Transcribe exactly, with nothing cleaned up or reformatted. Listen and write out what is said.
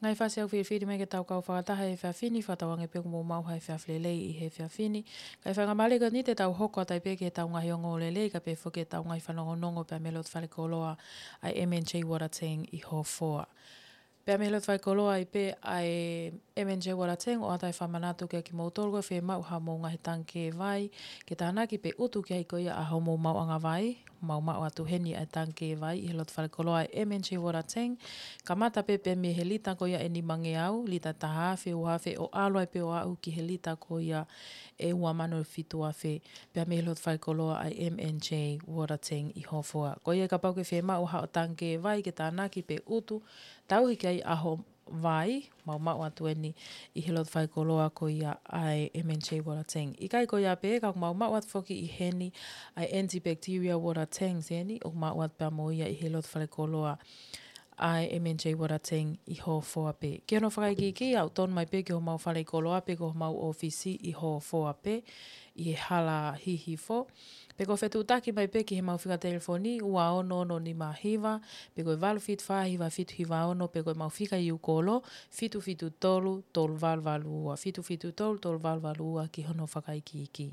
Ngaahi fasi ʻoku fifili mai ke tau kau fakataha he efiafi ni, fakatauange pē ʻoku mou maʻu ha efiafi lelei ʻi he efiafi ni. Kae faingamālie ko eni te tau hoko atu ai pē ki heʻetau ngaahi ongoongolelei, kae pehē foki ki heʻetau ngaahi fanongonongo pea mei he loto falekoloa ʻa e M and J Water Tank ʻi Hofoa. Pea mei he loto falekoloa ai pē ʻa e M and J Water Tank, ʻoatu ai e fakamanatu kiate kimoutolu ko e fiemaʻu haʻamou ngaahi tangikē vai ke tānaki pe ʻutu ki ai ko ia ʻa hoʻomou maʻuʻanga vai, mou maʻu atu heni ʻa e tangikē vai ʻi he loto falekoloa ʻa e M and J Water Tank. Kamata pē pē mei he lita ko ia ʻe nimangeau, lita ʻe taha afe, ua afe, ʻo ʻalu ai pē ʻo aʻu ki he lita ko ia ʻe ua mano fitu afe, pea mei he loto falekoloa ʻa e M and J Water Tank ʻi Hofoa. Ko ia kapau ʻoku ke fiemaʻu haʻo tangikē vai ke tānaki pe ʻutu, tauhi ki ai ʻa hoʻo vai, mou maʻu atu eni ʻi he loto falekoloa ko ia ʻa e M and J Water Tank. ʻIkai ko ia pē, ka ʻoku mou maʻu atu foki ʻi heni ʻa e antibacterial water tanks eni, ʻoku maʻu atu pea mo ia ʻi he loto falekoloa ʻa e M and J Water Tank ʻi Hofoa pē. Ki hono fakaikiiki, aʻu tonu mai pē ki homou falekoloa pe ko homou ʻōfisi ʻi Hofoa pē, ʻi he hala Hihifo. Pe ko e fetuʻutaki mai pē ki heʻemau fika telefoni, ua ono ono nima hiva, pe ko e valu fitu fā hiva fitu hiva ono, pe ko ʻemau fika ʻi ʻū kolo, fitu fitu tolu tolu valu valu ua, fitu fitu tolu tolu valu valu ua ki hono fakaikiiki.